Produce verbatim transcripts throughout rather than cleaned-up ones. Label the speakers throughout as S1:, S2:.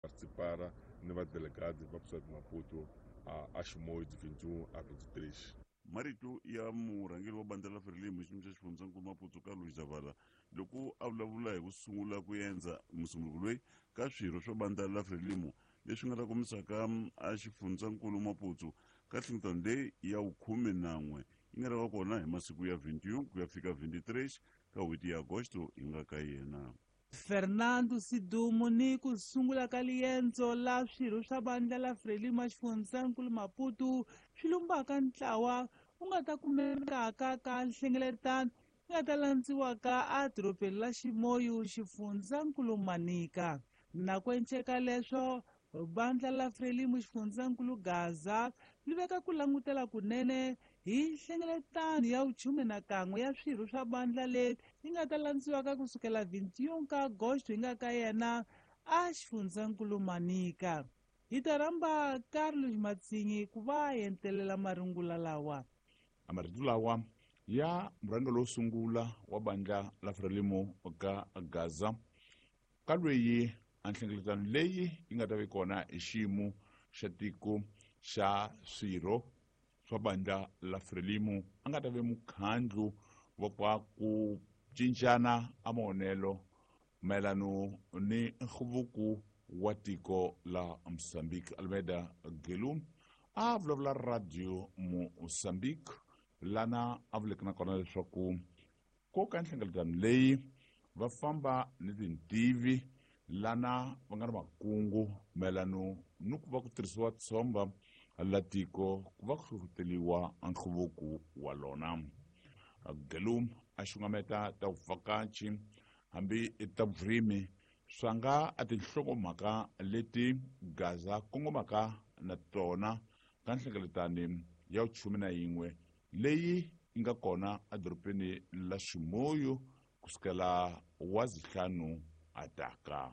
S1: Participar ni vadelegado va cidade de Maputo a, a Chimoio de vinte e um a vinte e três.
S2: Marito ya murhangeri wa bandla la Frelimo xiyimo xa xifundzankulu Maputo Carlos Zavala loko a vulavula hi ku sungula ku endza musunguri loyi ka swirho swa bandla la Frelimo leswi nga ta kombisaka a xifundzankulu Maputo ka nhlengeletano leyi ya vukhume na n'we yi nga ta va kona hi masiku ya vinte e um ku ya fika vinte e três ka n'hweti ya Agosto yi nga ka yena.
S3: Fernando Sidumo ni ku sungula ka liendzo la swirho swa bandla la Frelimo xifundzankulu Maputo swi lumbaka ntlawa wu nga ta kumekaka ka nhlengeletano yi nga ta landziwaka a dorobeni la Chimoio xifundzankulu Manica. Na ku enceka leswo bandla la Frelimo xifundzankulu Gaza li veka ku langutela kunene hi nhlengeletano ya vuchume na kan'we ya swirho swa bandla leri yi nga ta landziwaka kusukela vinte e um ka Agosto yi nga ka yena a xifundzankulu Manica. Hi ta rhamba Carlos Matsinyi ku va entelela marungula lawa.
S2: A marito lawa ya murhangeri lowo sungula wa bandla la Frelimo ka Gaza ka lweyi a nhlengeletano leyi yi nga ta va kona hi xiyimo xa tiko xa swirho swa bandla la Frelimo a nga ta ve mukhandlu wa kwa ku cincana a mavonelo mayelano ni nhluvuko wa tiko la Mozambique. Almeida Gelu a vulavula radio Mozambique lana a vuleke na kona leswaku ko ka nhlengeletano leyi va famba ni tintivi lana va nga na makungu mayelano ni ku va ku tirhisiwa tshomba la tiko ku va ku hlohloteriwa nhluvuko wa lona. Gelu a xungameta ta vuvhakachi hambi ta vurimi swa nga a tinhlokomhaka leti Gaza kongomaka na tona ka nhlengeletano ya vuchume na yin'we leyi yi nga kona edorobeni la Chimoio kusukela wa zihlanu ataka.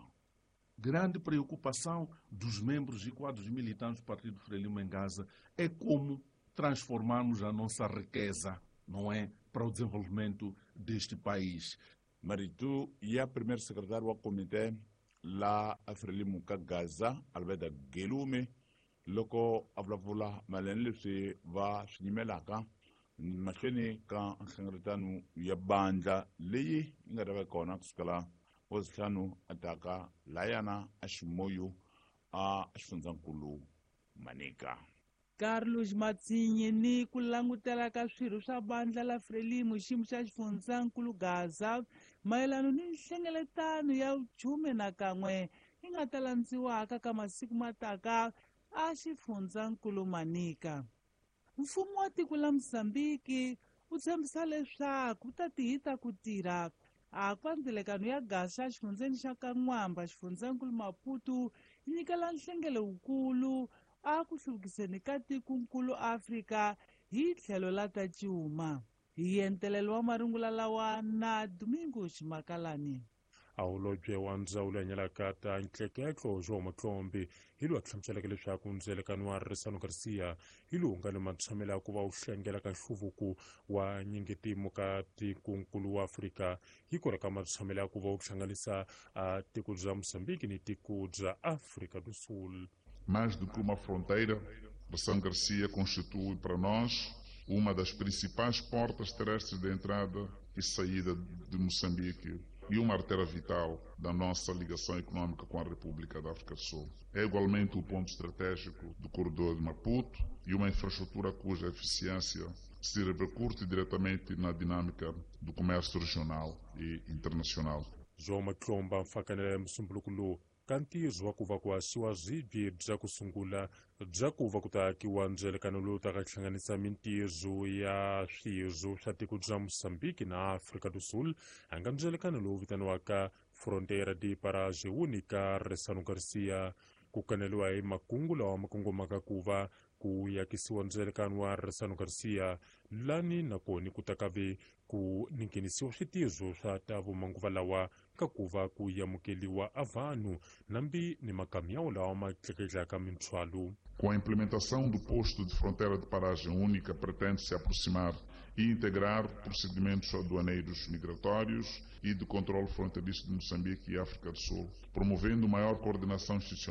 S4: Grande preocupação dos membros e quadros militantes do Partido Frelimo em Gaza é como transformarmos a nossa riqueza, não é, para o desenvolvimento deste país.
S2: Marito ya primeiro secretário wa comitê la Frelimo ka Gaza Alberto Gelume loko a vulavula mayelana leswi va swi nyimelaka mahlweni ka nhlengeletano ya bandla leyi yi nga ta va kona kusukela wa zihlanu ataka layana a Chimoio a xifundzankulu Manica.
S3: Carlos Matsinyi ni ku langutela ka swirho swa bandla la Frelimo xiyimo xa xifundzankulu Gaza mayelano ni nhlengeletano ya vuchume na kan'we yi nga ta landziwaka ka masiku mataka a xifundzankulu Manica. Mfumo wa tiko la Mozambique wu tshembisa leswaku wu ta tihita ku tirha a kwa ndzilekano ya Gaza xifundzeni xa Kan'wamba xifundzankulu Maputo yi nyikela nhlengelo wukulu a ku hluvukiseni ka tikonkulu Afrika hi tlhelo la ta cuma. Hi entelelo wa marungula lawa na Domingo Ximakalani.
S5: A holobye wa ndzawulo ya nyalaka ta ntleketlo João Matlombe hi loyi a hlamuseleke leswaku ndzelekano wa Ressano Garcia hi lowu nga ni matshamelo ya ku va wu hlengela ka nhluvuko wa nyingetimu ka tikonkulu wa Afrika hi kona ka matshamelo ya ku va wu hlanganisa a tiko bya Mozambique ni tiko bya Afrika do Sul.
S6: Mais do que uma fronteira, Ressano Garcia constitui para nós uma das principais portas terrestres de entrada e saída de Moçambique e uma artéria vital da nossa ligação econômica com a República da África do Sul. É igualmente o ponto estratégico do corredor de Maputo e uma infraestrutura cuja eficiência se repercute diretamente na dinâmica do comércio regional e internacional.
S5: João Matlomba mfakanela musumbuluko lowu ka ntirho wa ku va ku haxiwa swibye bya ku sungula bya ku va ku ta akiwa ndzelekano lowu taka hlanganisa mintirho ya swirho swa tiko bya Mozambique na Afrika do Sul a nga ndzelekano lowu vitaniwaka Fronteira de Paragem Única Ressano Garcia. Ku kaneliwa hi makungu lawa ma kongomaka ku va ku yakisiwa ndzelekano wa Ressano Garcia lani nakona ku ta kave ku nghenisiwa switirho swa ta vumanguva lawa ka ku va ku amukeliwa a vanhu nambi ni makamyawo lawa ma tleketlaka minthwalo.
S6: Com a implementação do posto de fronteira de paragem única, pretende-se aproximar e integrar procedimentos aduaneiros migratórios e de controle fronteiriço de Moçambique e África do Sul, promovendo maior coordenação institucional